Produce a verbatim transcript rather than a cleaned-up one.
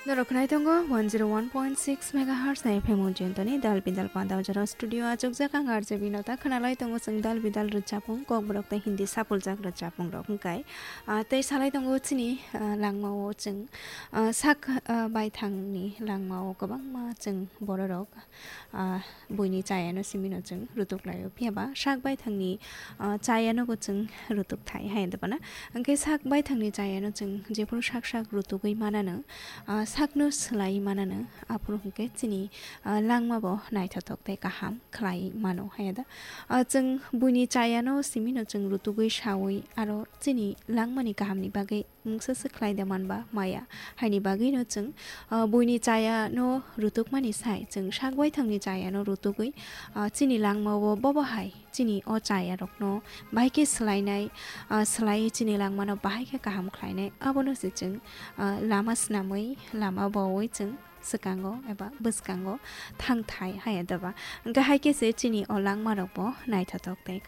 Norok khwnai tongo one zero one point six megahertz ni F M o Jyantoni Dal Bidal Panda o jora studio achukjak ang R J Binota khwnalai tongo chwng Dal Bidal rwchapung kokborok tei Hindi sapuljak rwchapung rok hwnkhe. Ah, tei salai tongo chini, ah, langmao chwng, ah, sak, ah, baithangni langmao kwbangma chwng bororok, ah, buini chayano simino chwng rutuk laio. Phiya ba sak baithangni, ah, chayano bo chwng rutuk thai hai da bana. Hwnkhe sak baithangni chayano chwng jephuru sak sak rutugwi manano, ah, sakno swlaiwi manano, aphuru hwnkhe chini, ah, langma bo naithothok tei kaham khlai mano hai da. Ah, chwng buini chayano simino chwng rutugwi sawi aro chini langmani kahamni bagwi mungsa se khlai da manba maya. Haini bagwino chwng, ah, buini chayano rutukmani sai chwng sak baithangni chayano rutugwi, ah, chini langmao bobo hai chini o chayarokno bahai khe swlainai, ah, swlaiwi chini langmano bahai khe kaham khlainai. Abono se chwng, ah, lama snamwi, lama baui chwng swkango eba bwskango thangthai hai da ba. Hwnkhe hai khe se chini o langmarokbo naithothok tei